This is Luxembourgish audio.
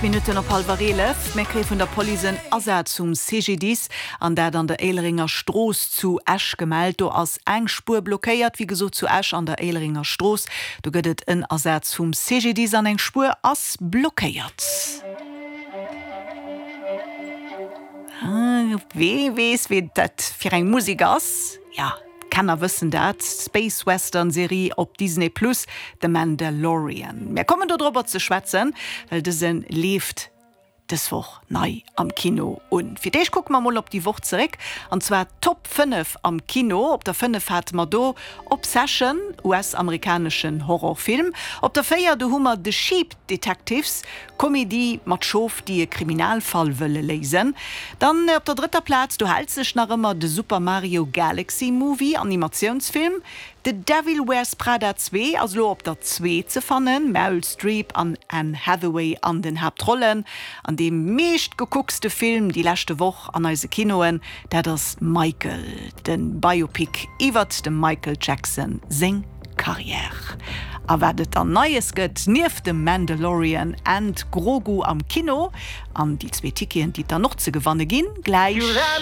8 Minutten op hallwer 11. Mir kréie vun der Police en Asaz um CGDIS, an dat an der Éilerenger Strooss zu Esch gemellt. Do ass eng Spuer blockéiert, wéi gesot zu Esch an der Éilerenger Strooss. Do gëtt et en Asaz vum CGDIS an eng Spuer ass blockéiert. Wee weess, wee dat fir eng Musek ass? Jo, d'Kenner wëssen dat, d'Space Western Serie op Disney Plus, The Mandalorian. Mär kommen do dorobber ze schwätzen, well dëse leeft dës Woch nei am Kino un. Fir d'éischt kucke mer mol op déi Woch zeréck, an zwar d'Top 5 am Kino. Op der 5 hate mer do Obsession, US-amerikaneschen Horrorfilm. Op der 4 do hu mer The Sheep Detectives, Komedie mat Schof, déi e Kriminalfall wëlle léisen. Dann op der drëtter Plaz, do hält sech nach ëmmer de Super Mario Galaxy Movie, Animatiounsfilm. The Devil Wears Prada 2 ass elo op der 2 ze fannen, Meryl Streep an Anne Hathaway an den Haaptrollen. An dee meeschtgekuckste Film déi leschte Woch an eise Kinoen, dat ass Michael, de Biopic iwwert dem Michael Jackson seng Carrière. A wat et dann Neies gëtt, nieft dem Mandalorian and Grogu am Kino, an déi zwee Ticketen, déi et dann och ze gewanne ginn, gläich.